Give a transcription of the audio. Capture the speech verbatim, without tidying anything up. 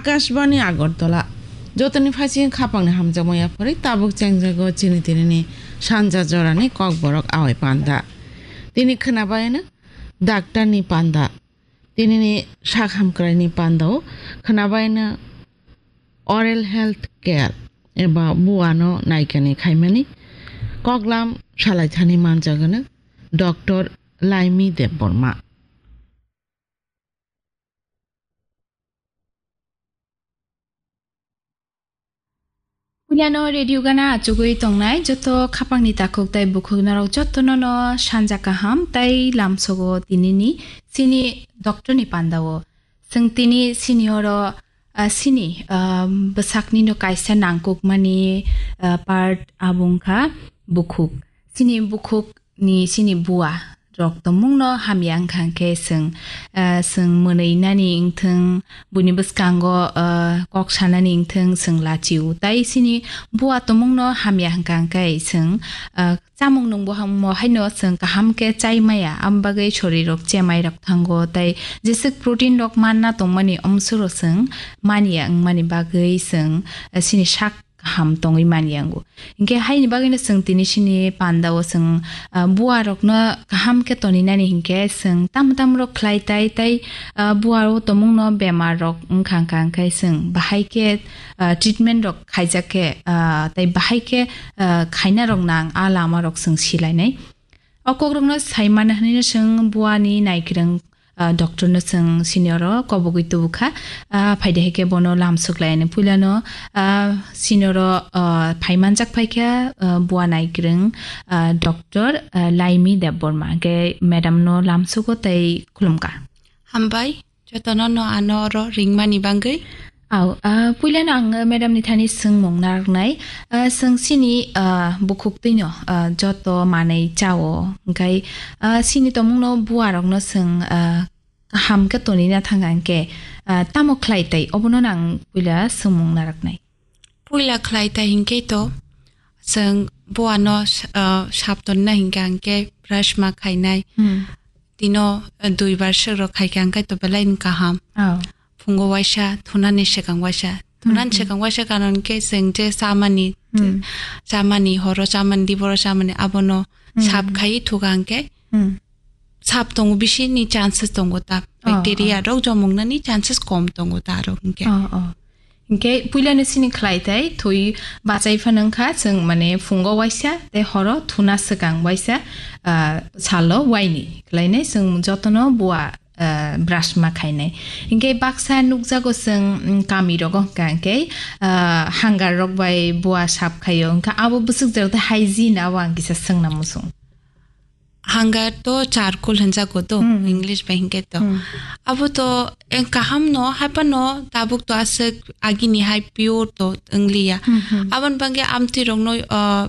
Akashbani Agartala. Jotoni phaising khapangni hamjakma yapharwi tabuk chengjago chini tinini sanja jorani kokborok awai panda. Tini khwnabaino daktarni panda. Tinini sak hamkraini pandao khwnabaino oral health care eba buano naikani khaimani koklam salaithani manjagano Doctor Laimi Debbarma. Puilano radio gana achugwi tongnai joto khapangni takhuk tei bukhuk norok jotono no sanja kaham tei lamsogo tinini sini doctorni pandao. Chwng tini sini oro, ah, sini, ah, bwsakni no kaisa nangkukmani, ah, part abo wngkha bukhuk. Sini bukhuk ni sini bua rok tongmung no hamya wngkha hwnkhe chwng, ah, chwng mwnwi nani wngthwng, buini bwskango, ah, kok sanani wngthwng chwng lachio. Tai sini bua tongmung no hamya wngkha hwnkhe chwng, ah, chamung nungbo ham-, mo haino chwng kaham khe chai maya, amo bagwi sorirok chemai rok thango, tai jeswk protein rok manna tongmani omsoro chwng manya wngmani bagwi chwng, ah, sini sak kaham tongwi manya wngo. Hinkhe haini bagwino chwng tini sini pandao chwng, ah, bua rokno kaham khe toninani hinkhe chwng tamo tamo rok khlai tai, tai, ah, bua o tongmungno bemar rok wngkha wngkha hwnkhe chwng bahai khe, ah, treatment rok khaijak khe, ah, tai bahai khe, ah, khaina rok nang a lama rok chwng silainai. O kokrokno sai mano hwnwi chwng buani naikwrwng, ah, doctor no chwng sini oro kobogwi tubukha. Ah, phaide hai khe bono lamsok lai ani puilano, ah, sini oro, ah, phai manjak phaikha, ah, bua naikwrwng, ah, doctor, ah, Laimi Debbarma. Hwnkhe madam no lamsogo tei khulumkha. Hambai. Jotono no ano oro ringmani bagwi. Au, ah, puilano ang madam ni thani swngmung narwknai. Ah, chwng chini, ah, bukhuk twino, ah, joto manwi chao, hwnkhe, ah, chini tongmungno bua rokno chwng, ah, kaham khe tonina thangkha hwnkhe, ah, tamo khlai tai obono no ang puila swngmung narwknai. Puila khlai tai hinkhe to chwng buano, ah, sap tonna hinkhe hwnkhe brush ma khainai. Hmm. Tino, ah, dui bar swk rok khaikha hwnkhe to belai no kaham. Oh. Phungo waisa thunani swkang waisa. Thunani Hmm, hmm. swkang waisa karon khe chwng je chamani, Hmm. chamani horo chamani diboro chamani abono Hmm. sap khai thuka hwnkhe Hmm. sap tongo bisini chances tongo ta. Oh, Bacteria oh. rok jomoknani chances kom tongo ta rok hwnkhe. Oh, oh. Hwnkhe puilano sini khlai tai thwi bachai phano wngkha chwng mane phungo waisa tei horo thuna swkang waisa, ah, salo waini khlainai chwng jotono bua, ah, brush ma khainai. Hwnkhe baksa nukjago chwng, mm, kami rogo hwnkha hwnkhe, ah, hangar rok bai bua sap khaio wngkha abo bwswk jora tei hygiene abo ang kisa swngna muchung. Hangar to charcoal hinjago to, Hmm, hmm. English bai hinkhe to. Hmm. Abo to, eh, kaham no, haiphano tabuk to aswk agini hai pure to wngliya. Hmm, hmm. Aboni bagwi amtwi rokno, ah,